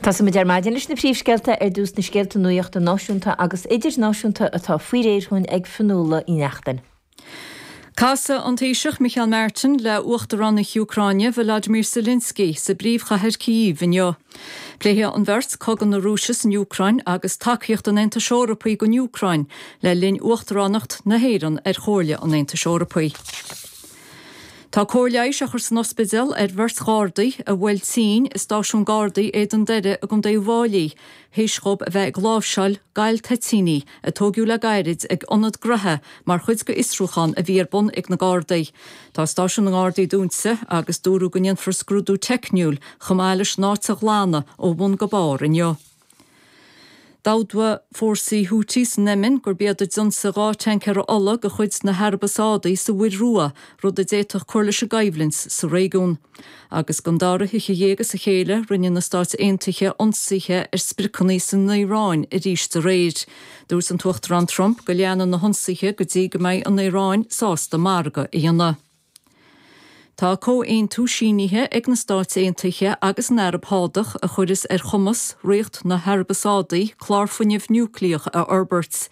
Tosóimid ar maidin leis na príomhscéalta, ar dtús na scéalta nuachta náisiúnta agus idirnáisiúnta atá faoi réir chugainn ag Fionnuala Ní Neachtain. Casfaidh an Taoiseach Micheál Martin le Uachtarán na hÚcráine Volodymyr Zelensky sa bpríomhchathair Kyiv inniu. Pléifidh an bheirt cogadh na Rúise san Úcráin agus tacaíocht an Aontais Eorpaigh don Úcráin le linn uachtaránacht na hÉireann ar Chomhairle an Aontais Eorpaigh. Tá cóir leighis á chur san ospidéal ar bheirt Ghardaí a bhuail tinn i stáisiún Gardaí Éadan Doire i gContae Uíbh Fháilí théis dhóibh a bheith ag láimhseáil galltoitíní a tóigeadh le gairid ag ionad graithe mar chuid de fhiosrúchán a bhí ar bun ag na Gardaí. Tá stáisiún na nGardaí dúnta agus dúradh go ndéanfar scrúdú teicniúil chomh maith leis an áit a ghlanadh ó bhun go barr inniu. D'admhaigh fórsaí Houthi san Éimin gurb iad a d'ionsaigh 2 tancaer ola de chuid na hAraibe Sádaí sa Mhuir Rua, rud a d'fhéadfadh cur leis an gcoimhlint sa réigiún. Agus don dara hoíche dhéag as a chéile, rinne na Stáit Aontaithe ionsaithe ar spriocanna san Iaráin arís aréir. Dúirt an tUachtarán Trump go leanfaidh na hionsaithe go dtí go mbeidh an Iaráin sásta margadh a dhéanamh. Tá comhaontú sínithe ag na Stáit Aontaithe agus an Araib Shádach a chuirfeas ar chumas Ríocht na hAraibe Sádaí clár fuinnimh núicléach a fhorbairt.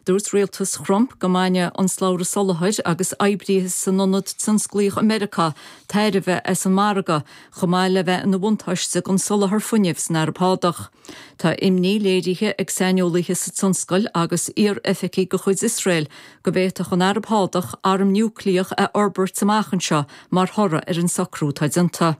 Dúirt rialtas Thrump go mbainfeadh an slabhra soláthair agus oibrithe san ionad tionsclaíoch i Meiriceá tairbhe as an margadh, chomh maith le bheith ina bhuntáiste don soláthar fuinnimh san Araib Shádach. Tá imní léirithe ag saineolaithe sa tionscal agus iar-oifigigh de chuid Iosrael go bhféadfadh an Araib Shádach arm núicléach a fhorbairt amach anseo mar thoradh ar an socrú atá déanta.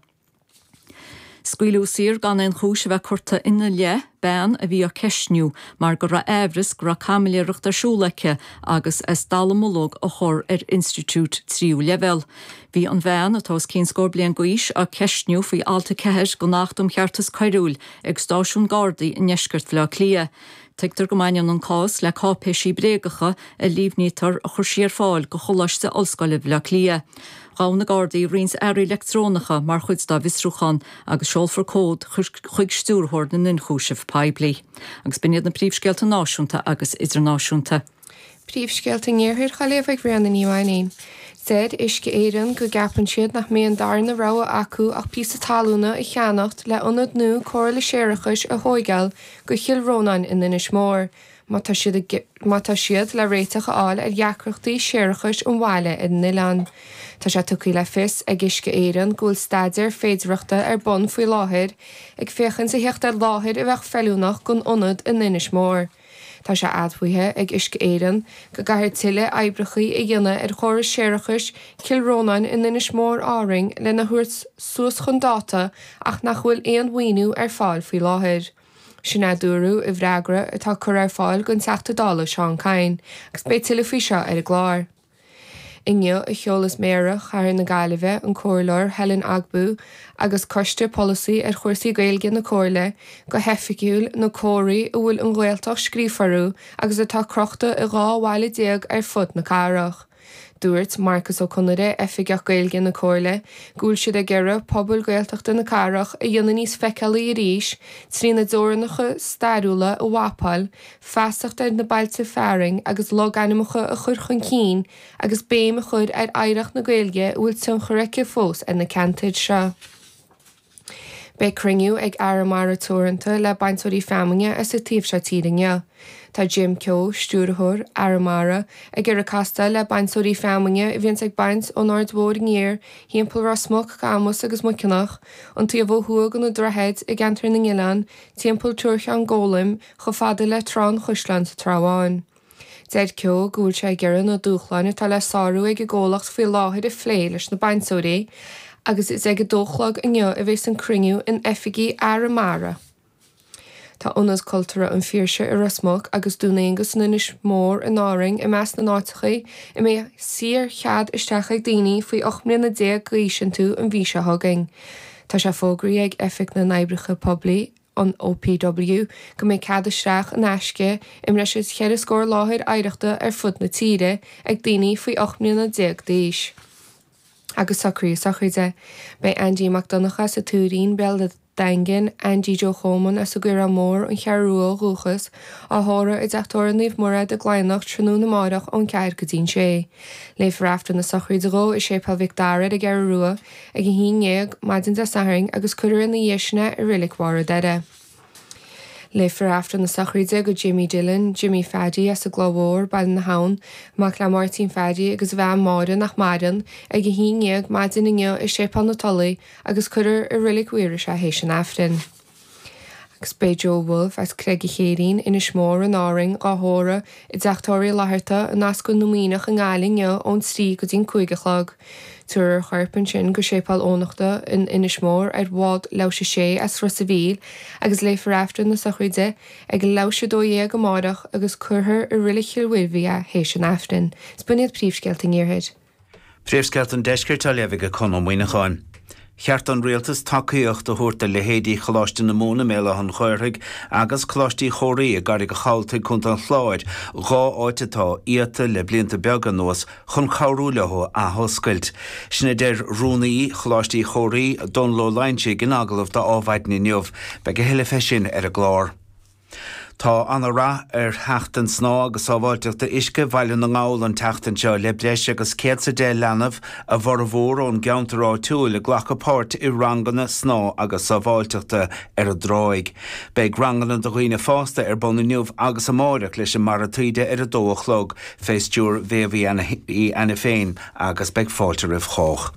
Scaoileadh saor gan aon chúis a bheith curtha ina leith bean a bhí á ceistniú mar go raibh aimhreas go raibh caimiléireacht ar siúl aici agus as dallamullóg a chur ar institiúid tríú leibhéal. Bhí an bhean, atá os cionn scór bliain d'aois, á ceistniú faoi alt 4 den Acht um Cheartas Coiriúil ag stáisiún Gardaí i ndeisceart Bhaile Átha Cliath. Tuigtear go mbaineann an cás le cáipéisí bréagacha a líomhnaítear a chuir sí ar fáil do Choláiste Ollscoile Bhaile Átha Cliath. Ghabh na Gardaí roinnt earraí leictreonacha mar chuid dá bhfiosrúchán agus seolfar comhad chuig Stiúrthóir na nIonchúiseamh Poiblí. Agus b'in iad na príomhscéalta náisiúnta agus idirnáisiúnta. Príomhscéalta an Iarthair á léamh ag Ríona Ní Mhainín. Deir Uisce Éireann go gceapann siad nach mbeidh an darna rogha acu ach píosa talúna a cheannacht le ionad nua cóireála séarachais a thóigeáil go Chill Rónáin in Inis Mór má tá siad má tá siad le réiteach a fháil ar dheacrachtaí séarachais an bhaile ar an oileán. Tá sé tugtha le fios ag Uisce Éireann go bhfuil staidéar féidearthachta ar bun faoi láthair ag féachaint a theacht ar láthair a bheadh feiliúnach don ionad in Inis Mór. Tá sé admhaithe ag Uisce Éireann go gcaithfear tuilleadh oibreacha a dhéanamh ar chóras séarachais Chill Rónáin in Inis Mór Árainn lena thabhairt suas chun dáta ach nach bhfuil aon mhaoiniú ar fáil faoi láthair. Sin a dúradh i bhfreagra atá curtha ar fáil don Teachta Dála Seán Kyne agus beidh tuilleadh faoi seo ar an gclár. Inniu a sheolas Méara Chathair na Gaillimhe, an Comhairleoir Helen Ogbu, agus Coiste Polasaí ar chúrsaí Gaeilge na Comhairle, go hoifigiúil na comharthaí a bhfuil an Ghaeltacht scríofa orthu agus atá crochta i 12 bhaile ar fud na cathrach. Dúirt Marcus Ó Conaire, Oifigeach Gaeilge na Comhairle, go bhfuil siad ag iarraidh pobail Gaeltachta na cathrach a dhéanamh níos feiceálaí arís trína dteorainneacha stairiúla a mhapáil, feasacht ar na bailte fearainn agus logainmneacha a chur chun cinn agus béim a chur ar oidhreacht na Gaeilge a bhfuil tionchar aici fós ar na ceantair seo. Beidh cruinniú ag Arramara Teoranta le bainteoirí feamainne as an taobh seo tíre inniu. Tá Jim Keogh, Stiúrthóir Arramara, ag iarraidh castáil le bainteoirí feamainne a bhíonns ag baint ón Aird Mhóir aniar thimpeall Ros Muc, Camus agus Muiceanach, an taobh ó thuaidh de na droichid i gceantar na nOileán, timpeall Tuar Cheann Gólaim, chomh fada le Trá an Chaisleáin sa Trá Bháin. Deir Keogh go bhfuil sé ag iarraidh na dúshláin atá le sárú ag an gcomhlacht faoi láthair a phlé leis na bainteoirí agus is ag a dó a chlog inniu a bheas an cruinniú in oifigí Arramara. Tá Ionad Cultúrtha an Phiarsaigh i Ros Muc agus Dún Aonghus in Inis Mór in Árainn i measc na n-áiteacha a mbeidh saor-chead isteach ag daoine faoi 18 mbliana d'aois iontu an mhí seo chugainn. Tá sé fógraithe ag Oifig na nOibreacha Poiblí, an OPW, go mbeidh cead isteach in aisce i mbreis is cheithre scór láthair oidhreachta ar fud na tíre ag daoine faoi 18 mbliana d'aois. Agus socruithe sochraide. Beidh Aindí Mac Donncha as an Tuairín, Béal an Daingin, Aindí Joe Choman as an gCaorán Mór, An Cheathrú Rua ó dhúchas, á thórramh i dTeach Tórraimh Naomh Murchadh i gCladhnach tráthnóna amárach ón 4 go dtí'n 6. Léifear Aifreann na sochraide dhó i Séipéal Mhic Dara ar an gCeathrú Rua ag 11 maidin Dé Sathairn agus cuirfear ina dhiaidh sin é i Reilig Bharr an Doire. Léifear Aifreann na sochraide do Jimmy Dillon, Jimmy Pheaidí as an gCloich Mhór, Baile na hAbhann, mac le Máirtín Pheaidí agus a bhean Máire nach maireann, ag 11:00 maidin inniu i Séipéal na Tulaí agus cuirfear i Reilig Mhaorais é théis an Aifrinn. Agus beidh Joe Woulfe as Creag a' Chéirín, Inis Mór in Árainn, dhá thórramh i dTeach Tórraimh Uí Fhlatharta in Ascaill na Muimhneach i nGaillimh inniu ón 3 go dtí'n 5 a chlog. Tabharfar a chorp ansin go Séipéal Eoghanachta in Inis Mór ar bhád Leabhais 6 as Ros a' Mhíl agus léifear Aifreann na sochraide ag leathuair théis 12 amárach agus cuirfear i Reilig Chill Mhuirbhigh é théis an Aifrinn. Is b'in iad príomhscéalta an Iarthair. Príomhscéalta an Deiscirt á léamh ag Conn Ó Muíneacháin. Cheart don Rialtas tacaíocht a thabhairt do leithéidí Choláiste na Mumhan i mBéal Átha an Ghaorthaidh agus Coláiste Uí Chomhraí i gCarraig a' Chabhaltaigh, Co. an Chláir, 2 áit atá iata le blianta beaga anuas, chun cabhrú leo athoscailt. Sin a deir Rúnaí Choláiste Uí Chomhraí, Dónal Ó Loingsigh, in agallamh do Adhmhaidin inniu. Beidh a thuilleadh fé sin ar an gclár. Tá ana-rath ar Sheachtain Snámha agus Sábháilteachta Uisce Bhaile na nGall an tseachtain seo le breis agus 110 leanbh, a bhformhór ón gceantar áitiúil, ag glacadh páirt i ranganna snámha agus sábháilteachta ar an dtráigh. Beidh ranganna do dhaoine fásta ar bun inniu agus amáireach leis an mBarra Taoide ar a dó a chlog, fé stiúir Mhéabh Uí Ainiféin agus beidh fáilte roimh chách.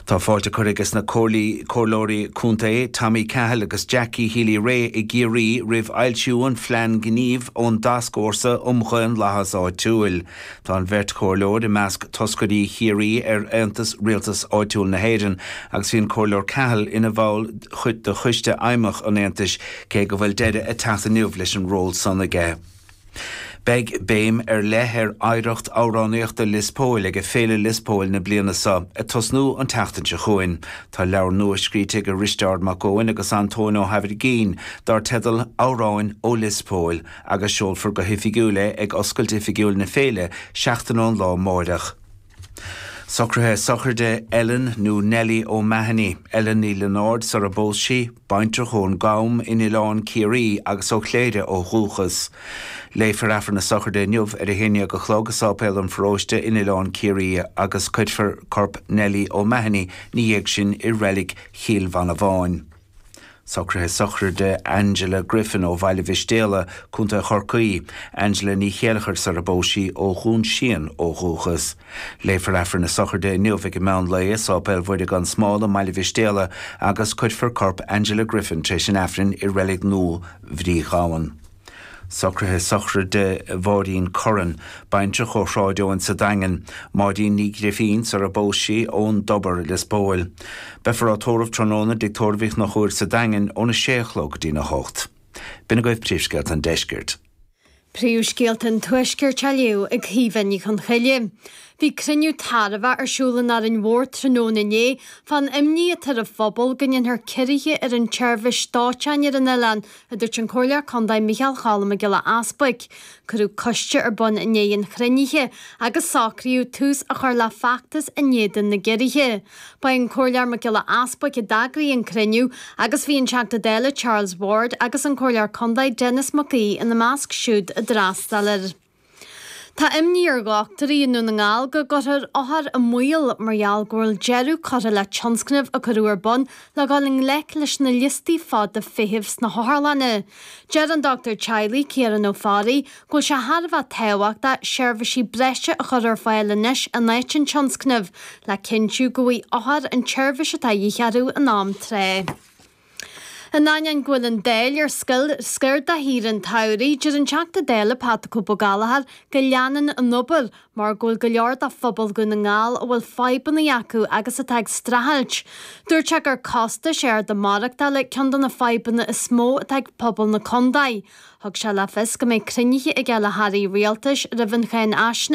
Tá fáilte curtha aige na Comhairleoirí Contae Tommy Cahill agus Jackie Healy-Rae i gCiarraí roimh fhoilsiú an phlean gnímh ón dTascfhórsa um Dhaonlathas Áitiúil. Tá an bheirt chomhairleoir i measc toscairí Chiarraí ar Aontas Rialtas Áitiúil na hÉireann agus bhí an Comhairleoir Cahill ina bhall de Choiste Fheidhmeach an Aontais cé go bhfuil deireadh ag teacht inniu leis an ról san aige. Beidh béim ar leith ar oidhreacht amhránaíochta Lios Póil ag Féile Lios Póil na bliana seo, ag tosnú an tseachtain seo chugainn. Tá leabhar nua scríte ag Risteárd Mac Eoin agus Antóin Ó hAimhirgín dar teideal Amhráin ó Lios Póil agus seolfar go hoifigiúil é ag oscailt oifigiúil na féile seachtain ón lá amáireach. Socruithe sochraide Ellen nó Nellie O'Mahony, Ellen Ní Lionáird sara bpós sí, baintreach ón gCam in Oileán Ciarraí agus ó Chléire ó dhúchas. Léifear Aifreann na sochraide inniu ar a haon dhéag a chlog i Sáipéal an Pharóiste in Oileán Ciarraí agus cuirfear corp Nellie O'Mahony 'na dhiaidh sin i Reilig Chill Mhanabháin. Socruithe sochraide Angela Griffin ó Bhaile Mhistéala, Co. Chorcaí, Angela Ní Chéilleachair sara bpós sí, ó Dhún Síon ó dhúchas. Léifear Aifreann na sochraide inniu ag an meán lae i Sáipéal Mhuire gan Smál i mBaile Mhistéala agus cuirfear corp Angela Griffin tar éis an Aifrinn i Reilig Nua Bhrí Ghabhann. Socruithe sochraide Mháirín Curran, baintreach ó Shráid Eoin sa Daingean, Máirín Ní Ghrifín, sara bpós sí, ón dTobar, Lios Póil. Beifear á tórramh tráthnóna i dTigh Tórraimh Uí Chonchúir sa Daingean óna sé a chlog go dtína hocht. B'in agaibh príomhscéalta an deiscirt. Príomhscéalta an Tuaiscirt á léamh ag Caoimhe Ní Chonchoille. Bhí cruinniú tairbheach ar siúl in Árainn Mhór tráthnóna inné fán imní atá ar an phobal go ndéanfar ciorruithe ar an tseirbhís dóiteáin ar an oileán a dúirt an Comhairleoir Contae Micheál Cholm Mac Giolla Easbuic. Cuireadh coiste ar bun i ndiaidh an chruinnithe agus socraíodh tús a chur le feachtas in éadan na gciorruithe. Ba é an Comhairleoir Mac Giolla Easbuic a d'eagraigh an cruinniú agus bhí an Teachta Dála Charles Ward agus an Comhairleoir Contae Denis Mac Aoidh ina measc siúd a d'fhreastail air. Tá imní ar dhochtúirí i nDún na nGall go gcuirfear othair i mbaol mar gheall go bhfuil deireadh curtha le tionscnamh a cuireadh ar bun le dhul i ngleic leis na liostaí fada feithimh sna hotharlanna. Deir an dochtúir teaghlaigh, Ciarán Ó Fearraigh, go bhfuil sé thar a bheith tábhachtach seirbhísí breise a chur ar fáil anois in áit an tionscnaimh le cinntiú go bhfaighidh othair an tseirbhís atá de dhíth orthu in am tráth. In ainneoin go bhfuil an Dáil ar scor do shaoire an tsamhraidh, deir an Teachta Dála Pat 'The Cope' Gallagher go leanann an obair mar go bhfuil go leor de phobal Dhún na nGall a bhfuil fadhbanna acu agus atá ag streachailt. Dúirt sé gur costais arda maireachtála ceann de na fadhbanna is mó atá ag pobal na contae. Thug sé le fios go mbeidh cruinnithe aige le hairí rialtais roimh an cháinfhaisnéis.